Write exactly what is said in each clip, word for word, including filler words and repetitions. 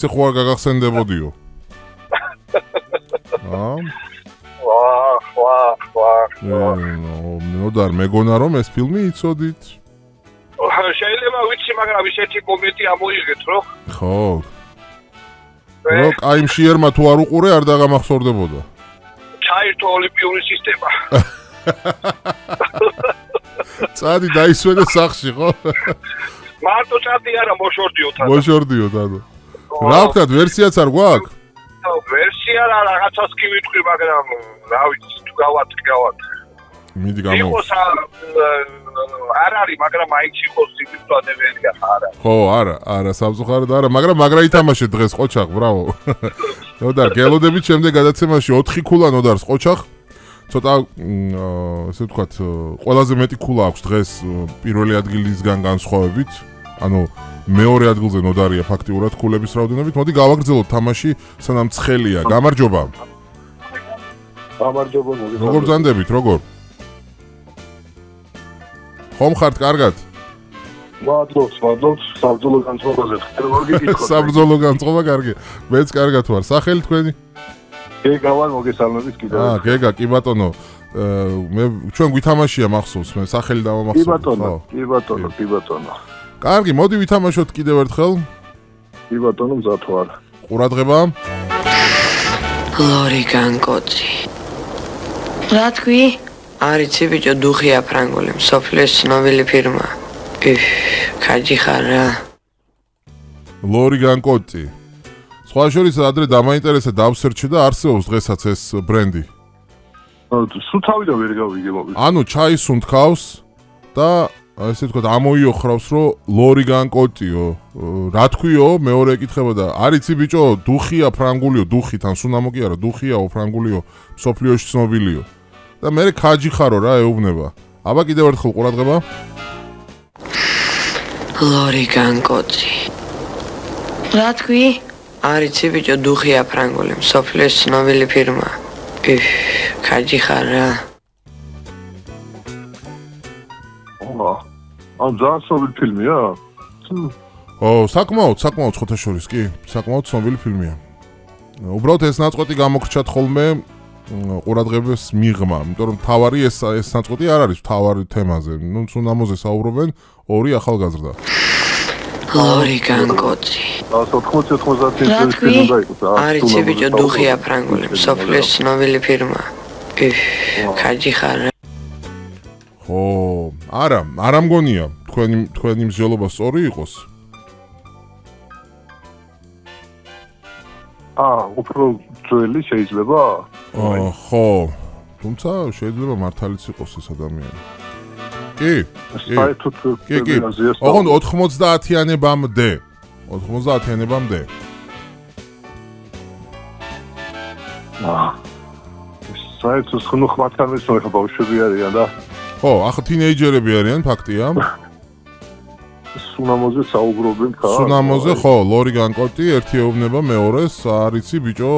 ხო არ გაგახსენდებოდიო. აა? ვაა, ვაა, ვაა. ნოდარ მეგონა რომ ეს ფილმი იცოდით? შეიძლება ვიცი, მაგრამ ისეთი კომენტი ამოიღეთ, რო? ხო. რო კაი მშიერმა თუ არ უყურე არ დაგამახსოვრდებოდა. ჩაირთო ოლიმპიური სისტემა. წადი დაისვენე სახში, ხო? მარტო წადი არა, მოშორდიო თან. მოშორდიო თან. რა ვქნათ, ვერსიაც არ გვაქვს? ვერსია რა რაღაცას კი ვიტყვი, მაგრამ რა ვიცი, თუ გავატი, გავატი. მიდი გამო. იყოს არ არის, მაგრამ მაინც იყოს სიბრძოლეებია არა. ხო, არა, არა, სამწუხაროდ არა, მაგრამ მაგრა ითამაშე დღეს ყოჩახ, ბრავო. ნოდარ, გელოდებით შემდეგ გადაცემაში ოთხი ქულა ნოდარს ყოჩახ. ცოტა ესე ვთქვათ, ყველაზე მეტი ქულა აქვს დღეს პირველი ადგილისგან განსხვავებით. ანუ მეორე ადგილზე ნოდარია ფაქტიურად ქულების რაოდენობით. მოდი გავაგრძელოთ თამაში, სანამ ცხელია. გამარჯობა. გამარჯობა. როგორ ბრძანდებით, როგორ? ხომ ხართ კარგად? მადლობს, მადლობს, საბრძოლო განწყობაზე ხდება გიკითხოთ. საბრძოლო განწყობა კარგია. მეც კარგად ვარ. სახელი თქვენი? გეგა ვარ, მოგესალმებით კიდევ. აა, გეგა, კი ბატონო. მე ჩვენ გვითამაშია მახსოვს, მე სახელი დავამახსოვრე. კი ბატონო, კი ბატონო, კი ბატონო. კარგი, მოდი ვითამაშოთ კიდევ ერთხელ. კი ბატონო, მზად ვარ. ყურადღება. ლორი განკოცი. რა თქვი? არიცი ბიჭო, დუხია ფრანგული, მსოფლიოს ცნობილი ფირმა. იფ, კაჯი ხარ რა. ლორი განკოცი. სხვა შორის ადრე დამაინტერესა დავსერჩე და არსებობს დღესაც ეს ბრენდი. სულ თავიდან ვერ გავიგე მოგეთ. ანუ ჩაის უნთქავს და ესე ვთქვათ ამოიოხრავს რომ ლორი განკოტიო. რა თქვიო? მეორე ეკითხება და არიცი ბიჭო, დუხია ფრანგულიო, დუხი თან სუნამო კი არა, დუხიაო ფრანგულიო, მსოფლიოში ცნობილიო. და მე კაჯი ხარო რა ეუბნება. აბა კიდევ ერთხელ ყურადღება. ლორი განკოცი. რა თქვი? არიცი ბიჭო, დუხია ფრანგული, მსოფლიოს ცნობილი ფირმა. იფ, კაჯი ხარ რა. ამ ძალიან ცნობილი ფილმია? ო, საკმაოდ, საკმაოდ ხოთა შორის, კი, საკმაოდ ცნობილი ფილმია. უბრალოდ ეს ნაწყვეტი გამოგრჩათ ხოლმე ყურადღებას მიღმა, იმიტომ რომ თავარი ეს ეს ნაწყვეტი არ არის თავარი თემაზე. ნუ სუნამოზე საუბრობენ ორი ახალგაზრდა. ლორი განკოცი. ოთხმოცი ოთხმოცი წლის ფილმი დაიყოს. არიცი ბიჭო, დუხია ფრანგული, მსოფლიოს ცნობილი ფირმა. იფ, კაჯი ხარ რა. ხო, არა, არ ამგონია, თქვენი თქვენი მსჯელობა სწორი იყოს. აა, უფრო ძველი შეიძლება? აა, ხო. თუმცა შეიძლება მართალიც იყოს ეს ადამიანი. კი. საერთოდ კი, კი. ოღონდ ოთხმოცდაათიანებამდე. ოთხმოცდაათიანებამდე. აა. საერთოდ ხნუ ხმათამის ხო ბავშვები არიან და ხო, ახლა თინეიჯერები არიან, ფაქტია. სუნამოზე საუბრობენ ხა? სუნამოზე ხო, ლორი განკოტი, ერთი ეუბნება მეორეს, არიცი ბიჭო.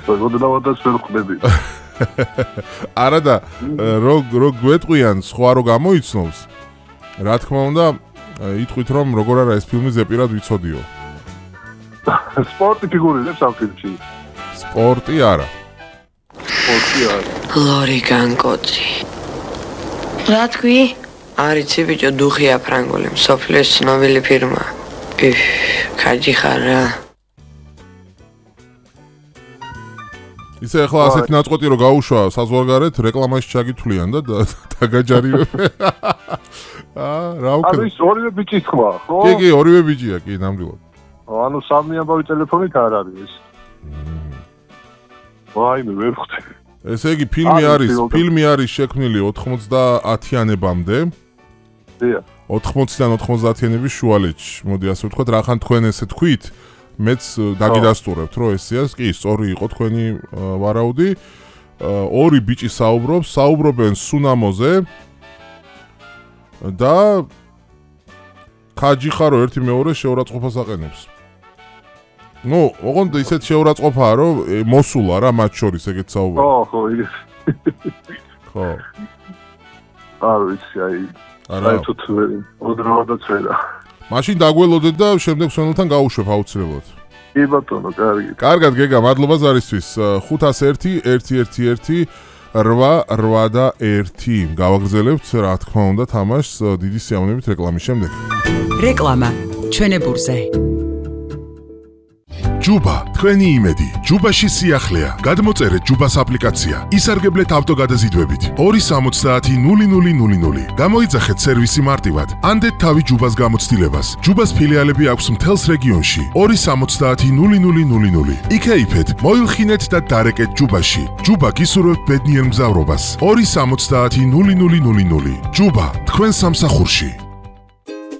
მოგდავადაც ვერ ხვდები. არა და რო რო გვეტყვიან სხვა რო გამოიცნობს, რა თქმა უნდა, იტყვით რომ როგორ არა ეს ფილმი ზეპირად ვიცოდიო. სპორტი ფიგურირებს ამ ფილმში? სპორტი არა. სპორტი არა. ლორი განკოცი. რა თქვი? არიცი ბიჭო, დუხია ფრანგული, მსოფლიოს ცნობილი ფირმა. იფ, კაჯი ხარ რა. ისე ახლა ასეთი ნაწყვეტი რო გაუშვა საზღვარგარეთ, რეკლამაში ჩაგითვლიან და დაგაჯარივებენ. აა, რა უკრა. ანუ ის ორივე ბიჭის ხმა, ხო? კი, კი, ორივე ბიჭია, კი, ნამდვილად. ანუ სამი ამბავი ტელეფონით არ არის ეს. ვაიმე, ვერ ხვდები. ესე იგი, ფილმი არის, ფილმი არის შექმნილი ოთხმოცდაათიანებამდე. დიახ. ოთხმოციდან ოთხმოცდაათიანების შუალედში. მოდი ასე ვთქვათ, რახან თქვენ ესე თქვით, მეც დაგიდასტურებთ, რომ ესეას კი, სწორი იყო თქვენი ვარაუდი. ორი ბიჭი საუბრობს, საუბრობენ სუნამოზე და კაჯი ხარო ერთი მეორეს შეურაცხყოფას აყენებს. ნუ, ოღონდ ისეთ შეურაცხყოფაა, რომ მოსულა რა მათ შორის ეგეთ საუბარი. ხო, ხო, იგივე. ხო. არ ვიცი, აი. არა. საერთოდ ოდნავადაც ვერა. მაშინ დაგველოდეთ და შემდეგ სვენელთან გავუშვებ აუცილებლად. კი ბატონო, კარგი. კარგად გეგა, მადლობა ზარისთვის. ხუთას ერთი ერთი ერთი ერთი რვა რვა და ერთი. გავაგრძელებთ, რა თქმა უნდა, თამაშს დიდი სიამოვნებით რეკლამის შემდეგ. რეკლამა ჩვენებურზე. ჯუბა, თქვენი იმედი. ჯუბაში სიახლეა. გადმოწერეთ ჯუბას აპლიკაცია. ისარგებლეთ ავტოგადაზიდვებით. ორი სამოცდაათი ნული ნული ნული ნული. გამოიძახეთ სერვისი მარტივად. ანდეთ თავი ჯუბას გამოცდილებას. ჯუბას ფილიალები აქვს მთელს რეგიონში. ორი სამოცდაათი ნული ნული ნული ნული. იქეიფეთ, მოილხინეთ და დარეკეთ ჯუბაში. ჯუბა გისურვებთ ბედნიერ მგზავრობას. ორი სამოცდაათი ნული ნული ნული ნული. ჯუბა, თქვენ სამსახურში.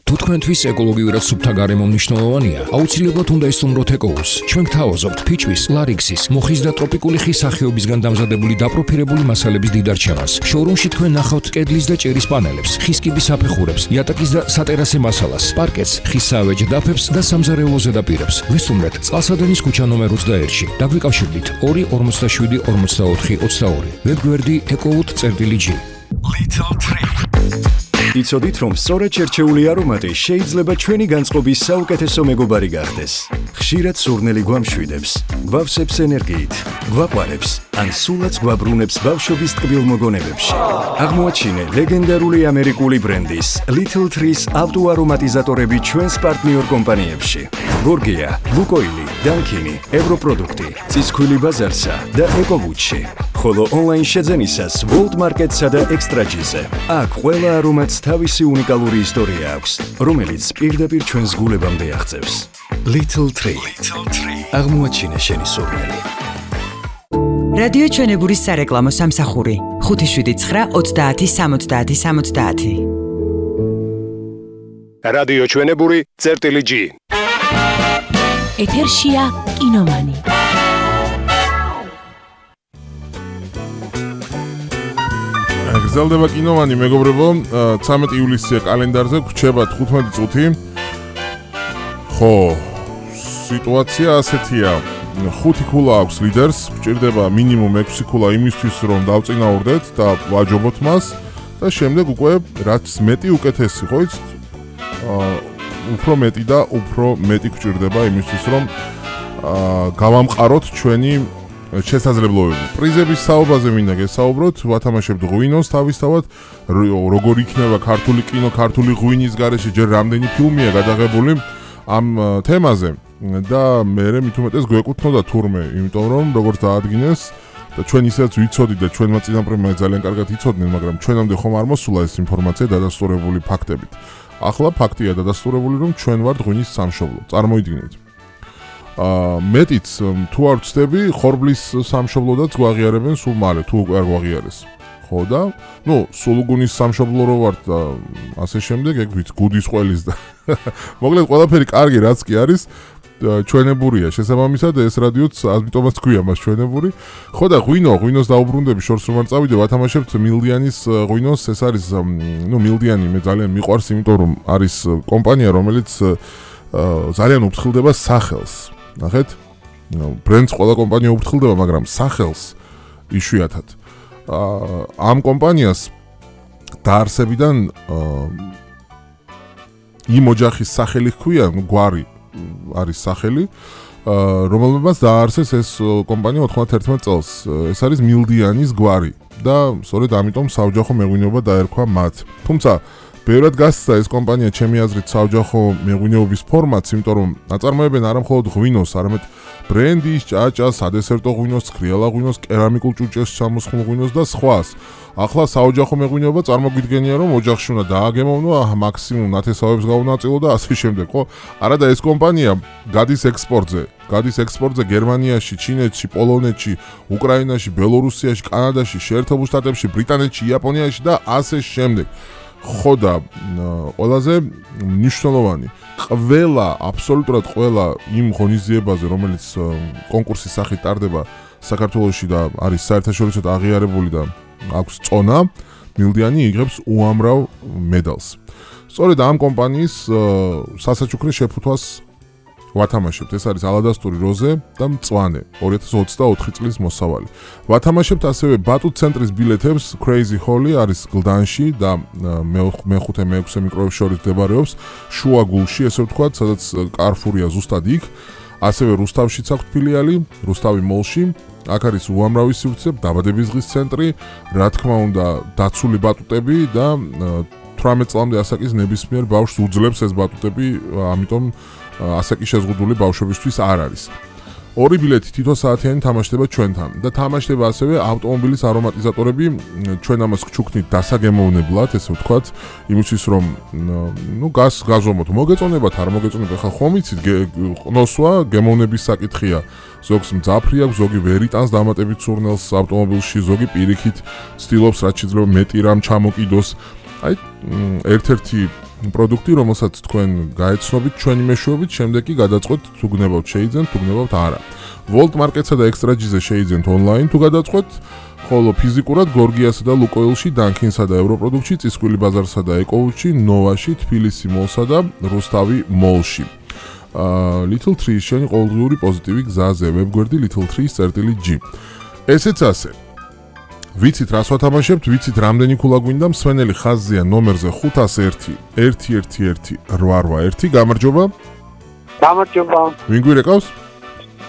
თუ თქვენთვის ეკოლოგიურად სუფთა გარემო მნიშვნელოვანია, აუცილებლად უნდა ისწავლოთ ეკოუს. ჩვენ გთავაზობთ ფიჩვის, ლარიქსის, მოხის და ტროპიკული ხის სახეობისგან დამზადებული დაპროფილებული მასალების დიდარჩევას. შოურუმში თქვენ ნახავთ კედლის და ჭერის პანელებს, ხის კიბის საფეხურებს, იატაკის და სატერასე მასალას, პარკეტს, ხის საავეჯე დაფებს და სამზარეულო ზედაპირებს. ვესტუმრეთ წყალსადენის ქუჩა ნომერ ოცდაერთში. დაგვიკავშირდით ორი ორმოცდაშვიდი ორმოცდაოთხი ოცდაორი. ვებგვერდი ecowood.gr. Little Tree. იცოდით, რომ სწორედ შერჩეული არომატი შეიძლება ჩვენი განწყობის საუკეთესო მეგობარი გახდეს. ხშირად სურნელი გვამშვიდებს, გვავსებს ენერგიით, გვაყვარებს, ან სულაც გვაბრუნებს ბავშვობის ტკბილ მოგონებებში. აღმოაჩინე ლეგენდარული ამერიკული ბრენდის Little Trees ავტოარომატიზატორები ჩვენს პარტნიორ კომპანიებში. გორგია, ლუკოილი, დანკინი, ევროპროდუქტი, ცისქვილი ბაზარსა და ეკოვუდში. ხოლო ონლაინ შეძენისას World Market-სა და Extra-ჯიზე. აქ ყველა არომატს თავისი უნიკალური ისტორია აქვს, რომელიც პირდაპირ ჩვენს გულებამდე აღწევს. Little Tree. აღმოაჩინე შენი სურნელი. რადიო ჩვენებურის სარეკლამო სამსახური ხუთი შვიდი ცხრა ოცდაათი სამოცდაათი სამოცდაათი. რადიო ჩვენებური წერტილი G. ეთერშია კინომანი. გრძელდება კინომანი, მეგობრებო, ცამეტი ივლისია კალენდარზე, გვჩება თხუთმეტი წუთი. ხო, სიტუაცია ასეთია. ხუთი ქულა აქვს ლიდერს, გვჭირდება მინიმუმ ექვსი ქულა იმისთვის, რომ დავწინაურდეთ და ვაჯობოთ მას და შემდეგ უკვე რაც მეტი უკეთესი, ხო იცით? უფრო მეტი და უფრო მეტი გვჭირდება იმისთვის, რომ გავამყაროთ ჩვენი შესაძლებლობები. პრიზების საუბაზე მინდა გესაუბროთ, ვათამაშებთ ღვინოს თავისთავად, როგორ იქნება ქართული კინო, ქართული ღვინის გარეშე, ჯერ რამდენი ფილმია გადაღებული ამ თემაზე და მე მით უმეტეს გვეკუთვნოდა თურმე, იმიტომ რომ როგორც დაადგინეს და ჩვენ ისაც ვიცოდით და ჩვენმა წინაპრებმა ძალიან კარგად იცოდნენ, მაგრამ ჩვენამდე ხომ არ მოსულა ეს ინფორმაცია დადასტურებული ფაქტებით. ახლა ფაქტია დადასტურებული, რომ ჩვენ ვართ ღვინის სამშობლო. წარმოიდგინეთ. აა მეტიც თუ არ ვწდები, ხორბლის სამშობლოდაც გვაღიარებენ სულ მალე, თუ უკვე არ გვაღიარეს. ხო და, ნუ, სულუგუნის სამშობლო რო ვართ და ასე შემდეგ, ეგ ვიცი, გუდის ყველის და მოკლედ ყველაფერი კარგი რაც კი არის, ჩვენებურია შესაბამისად ეს რადიოც ამიტომაც თქვია მას ჩვენებური. ხო და ღვინო, ღვინოს დაუბრუნდები შორს რომ არ წავიდე, ვათამაშებთ მილდიანის ღვინოს, ეს არის, ნუ მილდიანი მე ძალიან მიყვარს, იმიტომ რომ არის კომპანია, რომელიც ძალიან უფრთხილდება სახელს. ნახეთ? ბრენდს ყველა კომპანია უფრთხილდება, მაგრამ სახელს იშვიათად. ამ კომპანიას დაარსებიდან იმ ოჯახის სახელი ჰქვია, გვარი არის სახელი, რომელმაც დააარსეს ეს კომპანია ოთხმოცდაერთმეტ წელს. ეს არის მილდიანის გვარი და სწორედ ამიტომ საოჯახო მეღვინეობა დაერქვა მათ. თუმცა ბევრად გასცდა ეს კომპანია ჩემი აზრით საოჯახო მეღვინეობის ფორმატს, იმიტომ რომ აწარმოებენ არა მხოლოდ ღვინოს, არამედ ბრენდის, ჭაჭას, სადესერტო ღვინოს, ცქრიალა ღვინოს, კერამიკულ ჭურჭელს ჩამოსხმულ ღვინოს და სხვას. ახლა საოჯახო მეღვინეობა წარმოგვიდგენია, რომ ოჯახში უნდა დააგემოვნო, მაქსიმუმ ნათესავებს გაუნაწილო და ასე შემდეგ, ხო? არა და ეს კომპანია გადის ექსპორტზე. გადის ექსპორტზე გერმანიაში, ჩინეთში, პოლონეთში, უკრაინაში, ბელორუსიაში, კანადაში, შეერთებულ შტატებში, ბრიტანეთში, იაპონიაში და ასე შემდეგ. ხო და ყველაზე მნიშვნელოვანი, ყველა, აბსოლუტურად ყველა იმ ღონისძიებაზე, რომელიც კონკურსის სახით ტარდება საქართველოში და არის საერთაშორისო აღიარებული და აქვს წონა, მილდიანი იღებს უამრავ მედალს. სწორედ ამ კომპანიის სასაჩუქრე შეფუთვას ვათამაშებთ. ეს არის ალადასტური როზე და მწვანე ორი ათას ოცდაოთხი წლის მოსავალი. ვათამაშებთ ასევე ბატუტ ცენტრის ბილეთებს Crazy Holly არის გლდანში და მეხუთე მეექვსე მიკროებს შორის მდებარეობს შუა გულში, ესე ვთქვათ, სადაც Carrefour-ია ზუსტად იქ. ასევე რუსთავშიც აქვს ფილიალი, რუსთავი მოლში. აქ არის უამრავი სივრცე, დაბადების დღის ცენტრი, რა თქმა უნდა, დაცული ბატუტები და თვრამეტ წლამდე ასაკის ნებისმიერ ბავშვს უძლებს ეს ბატუტები, ამიტომ ასაკი შეზღუდული ბავშვებისთვის არ არის. ორი ბილეთი თითო საათიანი თამაშდება ჩვენთან და თამაშდება ასევე ავტომობილის არომატიზატორები, ჩვენ ამას გჩუქნით დასაგემოვნებლად, ესე ვთქვათ, იმისთვის რომ ნუ გას გაზომოთ, მოგეწონებათ, არ მოგეწონებათ, ხა ხომ იცით, ყნოსვა, გემოვნების საკითხია. ზოგს მძაფრი აქვს, ზოგი ვერ იტანს დამატებით სურნელს ავტომობილში, ზოგი პირიქით ცდილობს რაც შეიძლება მეტი რამ ჩამოკიდოს. აი, ერთ-ერთი პროდუქტი, რომელსაც თქვენ გაეცნობით ჩვენი მეშვეობით, შემდეგ კი გადაწყვეტთ თუ გნებავთ შეიძენთ, თუ გნებავთ არა. Volt Market-სა და Extra G-ზე შეიძენთ ონლაინ თუ გადაწყვეტთ, ხოლო ფიზიკურად გორგიასა და ლუკოილში, Dunkin-სა და ევროპროდუქტში, წისქვილი ბაზარსა და ეკოუჩში, ნოვაში, თბილისი მოლსა და რუსთავი მოლში. Little Tree-ის შენი ყოველდღიური პოზიტივი გზაზე, ვებგვერდი Little Tree-ის წერტილი G. ესეც ასე. ვიცით რას ვათამაშებთ, ვიცით რამდენი ქულა გვინდა, მსვენელი ხაზზეა ნომერზე ხუთ ათას ერთი ერთი ერთი ერთი რვა რვა ერთი. გამარჯობა. გამარჯობა. ვინ გვირეკავს?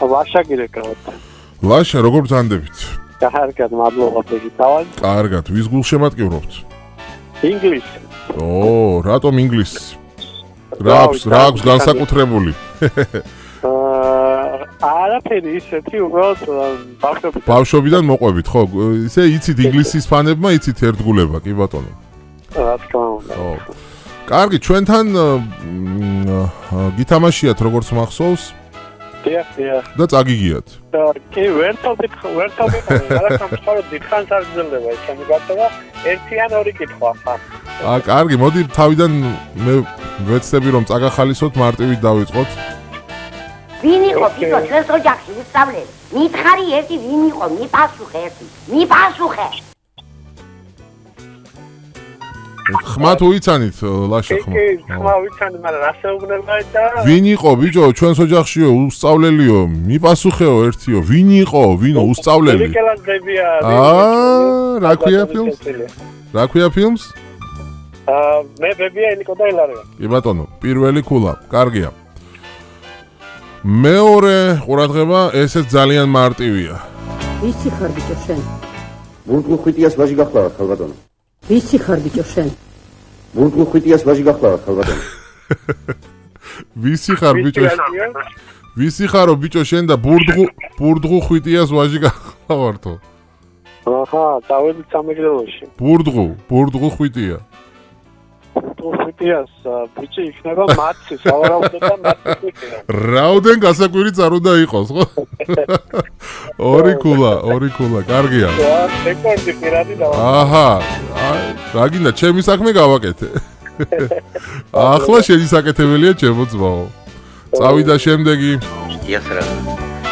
ლაშა გირეკავთ. ლაშა, როგორ ბრძანდებით? კარგად, მადლობა გიგითავად. კარგად, ვის გულშემატკივრობთ? ინგლისი. ო, რატომ ინგლისი? რა აქვს, რა აქვს განსაკუთრებული? არაფერი ისეთი, უბრალოდ ბავშვობიდან. ბავშვობიდან მოყვებით, ხო? ისე იცით ინგლისის ფანებმა, იცით ერთგულება, კი ბატონო. რა თქმა უნდა. ო. კარგი, ჩვენთან გითამაშიათ როგორც მახსოვს? დიახ, დიახ. და წაგიგიათ. კი, ვერტობით, ვერტობით, რაღაცა მხოლოდ დიდხანს არ გრძელდება ეს ჩემი გატოვა, ერთი ან ორი კითხვა ხარ. აა, კარგი, მოდი თავიდან მე ვეცდები რომ წაგახალისოთ, მარტივით დავიწყოთ. ვინ იყო ბიჭო ჩვენს ოჯახში უსწავლელი? მითხარი ერთი ვინ იყო? მიპასუხე ერთი. მიპასუხე. ხმა თუ იცანით, ლაშა ხმა. კი, ხმა ვიცანი, მაგრამ რასეუბნება და ვინ იყო ბიჭო ჩვენს ოჯახშიო, უსწავლელიო? მიპასუხეო ერთიო. ვინ იყო? ვინო უსწავლელი? რიკელანდებია. აა, რა ქვია ფილმს? რა ქვია ფილმს? აა, მე ბებია ილიკო და ილარია. კი ბატონო, პირველი ქულა, კარგია. მეორე ყურადღება, ესეც ძალიან მარტივია. ვისი ხარ ბიჭო შენ? ბურგუ ხვიტიას ვაჟი გახლავართ ხალბატონო. ვისი ხარ ბიჭო შენ? ბურგუ ხვიტიას ვაჟი გახლავართ ხალბატონო. ვისი ხარ ბიჭო? ვისი ხარო ბიჭო შენ და ბურდღუ ბურდღუ ხვიტიას ვაჟი გახლავართო? აჰა, დავედით სამეგრელოში. ბურდღუ, ბურდღუ ხვიტია. ხვიტიას ბიჭი იქნება მათი, სავარაუდოდ მათი. რაოდენ გასაკვირი არ უნდა იყოს, ხო? ორი ქულა, ორი ქულა, კარგია. რეკორდი პირადი და აჰა, რა გინდა, ჩემი საქმე გავაკეთე. ახლა შენი საკეთებელია ჩემო ძმაო. წავიდა შემდეგი. Я сразу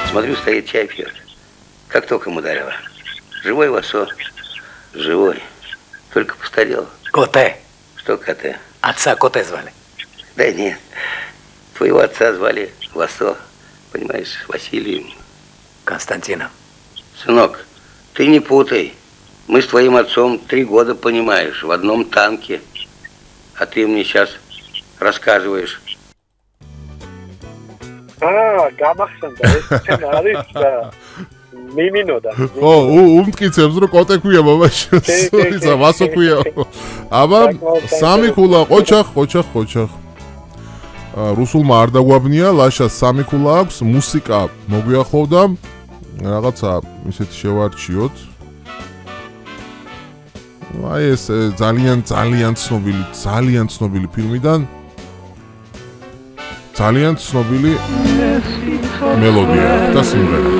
смотрю, стоит чай пьет. Как током ударило. Живой Васо? Живой. Только постарел. Коте. Что коте? Отца Коте звали. Да нет. Твоего отца звали Васо. Понимаешь, Василием. Константином. Сынок, ты не путай. Мы с твоим отцом три года, понимаешь, в одном танке. А ты мне сейчас рассказываешь. აა, გამახსენდა ეს ჩვენ არის მიმინოდა. ო, უმტკიცებს რომ კოტე ქვია მამაში. ისა ვასო ქვია. აბა, სამი ქულა, ყოჩახ, ყოჩახ, ყოჩახ. აა, რუსულმა არ დაგვაბნია, ლაშა სამი ქულა აქვს, მუსიკა მოგვიახლოვდა. რაღაცა ისეთი შევარჩიოთ. აი ეს ძალიან ძალიან ცნობილი, ძალიან ცნობილი ფილმიდან ძალიან ცნობილი მელოდია და სიმღერა.